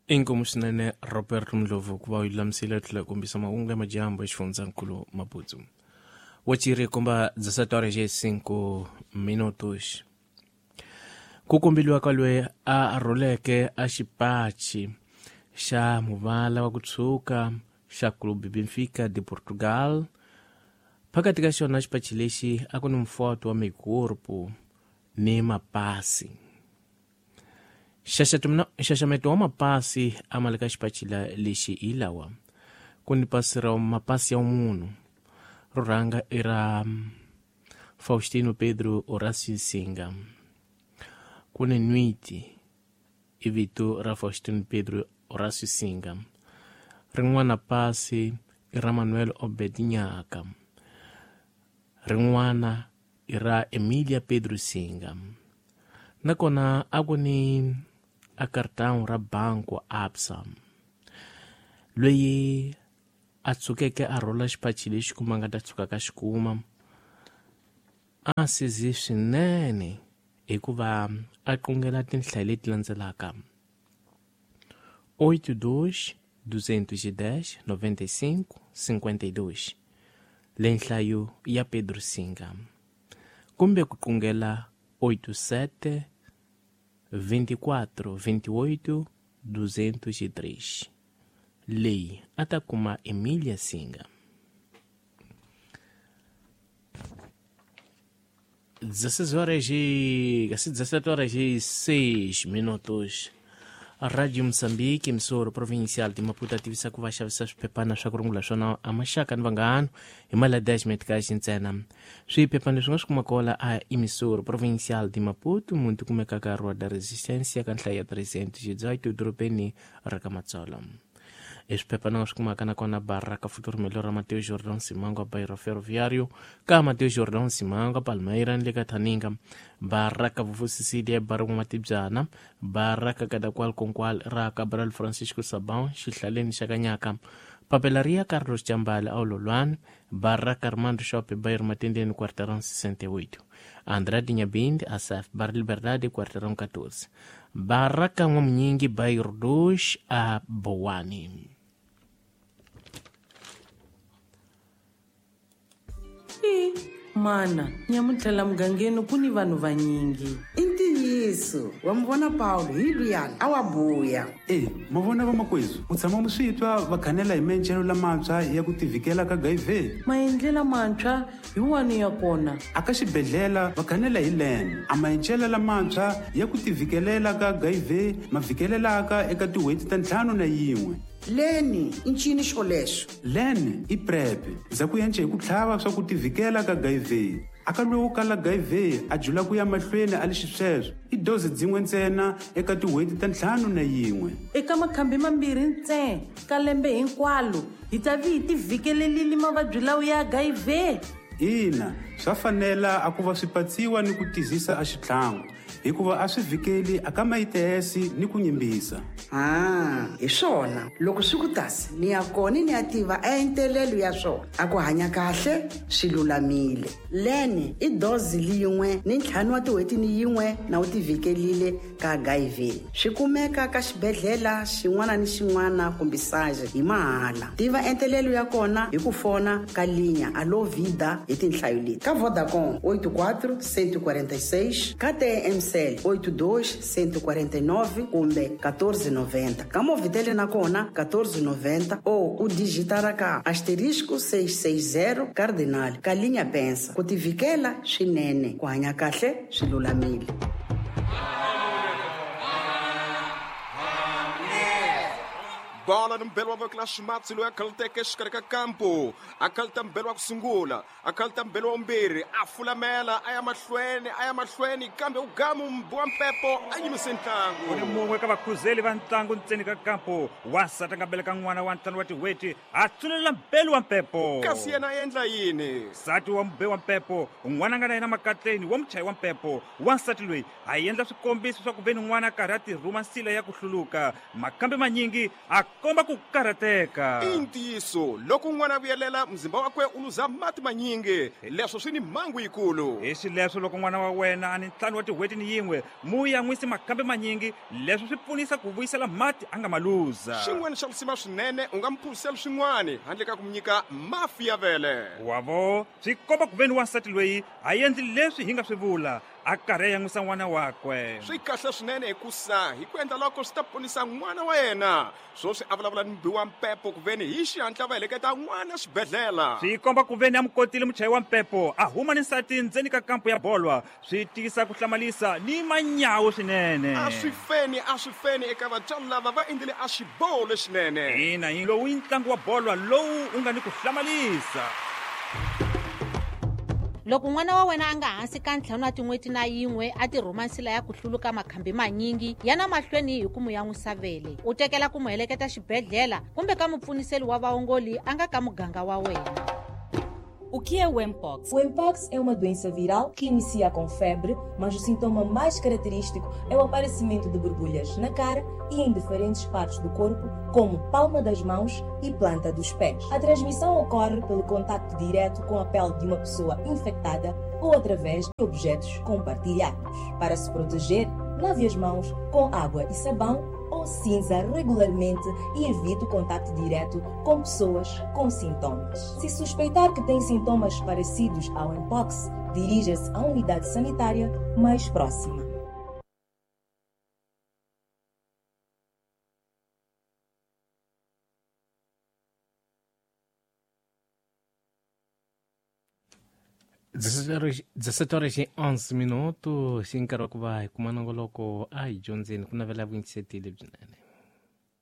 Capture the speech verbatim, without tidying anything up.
Inkomu swinene Robert Ndlovu ku va u lulamisile tlhela kombisa mahungu ya madyambu exifundzankulu Maputo. Wachiri komba dezessete horas e cinco minutos. Ku kombeliwa ka loyi a rhuleke a xipachi xa muvala wa ku tshuka xa Clube Benfica de Portugal. Phakathi ka xona xipachi lexi a ku ni mfoto wa mikorpo ni mapasi. Nxaxameto wa mapasi a ma le ka xipachi lexi hi lawa. Ku ni pasi ra mapasi ya munhu ro rhanga i ra Faustino Pedro Horácio Singa. Ku ni nwiti i vito ra Faustino Pedro Horácio Singa. Rin'wana pasi i ra Manuel Obed Nyaka. Rin'wana i ra Emilia Pedro Singa. Nakona a ku ni a cartão ra banco Absa. Loyi a tsukeke a rhula xipachi lexi kuma nga ta tshuka ka xikuma a sizi swinene hikuva a qungela tinhlayo leti landzelaka: oito dois duzentos e dez noventa e cinco cinquenta e dois, le nhlayo ya Pedro Singa, kumbe ku qungela oito sete vinte e quatro vinte e oito duzentos e três, leyi a ta kuma Emilia Singa. dezesseis horas e dezessete horas e seis minutos. A Rádio Moçambique, emissora provincial de Maputo, ativisa ku va xavisa swiphephana swa ku rungula swona a maxaka ni vanghana hi mali ya dez meticais ntsena. Swiphephana leswi nga swi kuma kola a emissora provincial de Maputo, muti kumekaka Rua da Resistência ka nhlayo ya trezentos e dezoito dorobeni ra ka Matsolo. Eswiphephana swi kumaka nakona Baraka Futuro Melhor Mateus Jordão Simango, Bairro Ferroviário, ka Mateus Jordão Simango, Palmeira ni le ka Thaninga, Baraka Vuvu Cecília, Barungu Matibyana, Baraka Kadakwal Konkwal ra Cabral Francisco Sabão, Xihlaleni xa Kanyaka, Papelaria Carlos Jambala Aulolwane, Baraka Armando Shopping, Bairro Matendeni, Quarteirão sessenta e oito, Andrade Nhabinde, Asaf, Bar Liberdade, Quarteirão catorze, Baraka N'wamunyingi, Bairro dois, a Boane. Mana, nyamuntlha mugangeni ku ni vanhu vanyingi. I ntiyiso, wa mi vona Paulo hi luyani a wa buya. E, ma vona vamakwezu, u tshama mu swi twa va khanela hi maendlelo lamantshwa ya ku tivikela ka H I V. Maendlelo lamantshwa hi wani ya kona? A ka xibedhlele va khanela hi len. A maendlelo lamantshwa ya ku tivikelela ka H I V ma fikelelaka eka tin'hweti ta ntlhanu na yin'we. Leni i ncini xolexo? Len i PrEP, za ku yence hi ku tlhava swa ku tivikela ka H I V. A ka loyi wo kala H I V a jula ku ya mahlweni a le xisweswo i dozi dzin'we ntsena eka tin'hweti ta ntlhanu na yin'we. Eka makhambi mambirhi ntsena ka lembe hinkwalo hi ta vi hi tivikelelile mavabyi lawa ya H I V. Ina, swa fanela a ku va swi patsiwa ni ku tizisa a xitlhangu hikuva a swi vikeli a ka mayitesi ni ku nyimbisa. Ah, hi swona loko swi ku tasi ni ya kona ni ya tiva a entelelo ya swona a ku hanya kahle swi lulamile. Leni i dozi liyin'we ni ntlhanu wa tin'hweti ni yin'we na u tivikelile ka H I V. Swi kumeka ka xibedhlele xin'wana ni xin'wana kumbe saje hi mahala. Tiva entelelo ya kona hi ku fona ka linya Allo Vida hi tinhlayo leti: ka Vodacom oito quatro cento e quarenta e seis, ka T M C oito dois cento e quarenta e nove kumbe catorze noventa. Ka Movitel na kona catorze noventa ou u digitara ka asterisco seis seis zero cardinal ka linha pensa. Ku tivikela swinene, ku hanya kahle swi lulamile. Bola mbelo wa Clash Matsi loyi a khaluteke exikarhi ka kampo, a khaluta mbelo wa ku sungula, a khaluta mbelo wa vumbirhi, a fulamela a ya mahlweni a ya mahlweni kambe u gamu wa mpepo a yimise ntlangu. U ni mun'we ka vakhuzeli va ntlangu ntseni ka kampo, wansati a nga beleka n'wana wa ntlhanu wa tin'hweti a tsulela mbelo wa mpepo. Kasi yena a endla yini? Nsati wa mube wa mpepo, n'wana a nga na yena makatleni wa muchayi wa mpepo. Wansati loyi a endla swikombiso swa ku ve ni n'wana a karhi a tirhuma nsila ya ku hluluka, makambe manyingi a komba ku karhateka. I ntiyiso loko n'wana a vuyelela muzimba wakwe u luza mati manyingi, leswo swi ni mhangu yikulu. Hi xileswo loko n'wana wa wena a ni ntlhanu wa tin'hweti ni yin'we, mu yan'wisi makhambi manyingi, leswo swi pfunisa ku vuyisela mati a nga ma luza. Xin'wana xa lisima swinene u nga mu phuzisela swin'wana handle ka ku mu nyika mafi ya vele. Wavo swi komba ku veni wansati loyi a endli leswi hi nga swi vula, a karhi a yan'wisa n'wana wakwe. Swi kahle swinene hikusa hi ku endla loko swi ta ponisa n'wana wa yena. Swoswi a vulavula ni mubi wa mpepo ku veni hi xihatla va heleketa n'wana xibedhlele. Swi komba ku veni a mu kotile muchayi wa mpepo a huma ni nsati ndzeni ka kampo ya bolwa, swi tiyisa ku hlamalisa ni manyawu swinene. A swi feni a swi feni eka vatswari lava va endlile a xiboho lexinene. Ina, hi lowu i ntlangu wa bolwa lowu u nga ni ku hlamalisa. Loko n'wana wa wena a nga hansi ka ntlhanu wa tin'hweti na yin'we a ti rhuma nsila ya ku hluluka makhambi manyingi, yana mahlweni hi ku mu yan'wisa vele. U tekela ku mu heleketa xibedhlele kumbe ka mupfuniseli wa vaongoli a nga ka muganga wa wena. O que é o Mpox? O Mpox é uma doença viral que inicia com febre, mas o sintoma mais característico é o aparecimento de borbulhas na cara e em diferentes partes do corpo, como palma das mãos e planta dos pés. A transmissão ocorre pelo contacto direto com a pele de uma pessoa infectada ou através de objetos compartilhados. Para se proteger, lave as mãos com água e sabão ou cinza regularmente e evite o contacto direto com pessoas com sintomas. Se suspeitar que tem sintomas parecidos ao Mpox, dirija-se à unidade sanitária mais próxima. dezessete horas e onze minutos, xi nkarhi wa ku va hi kuma nongoloko a hi dyondzeni ku navela vuyingisetile byinene.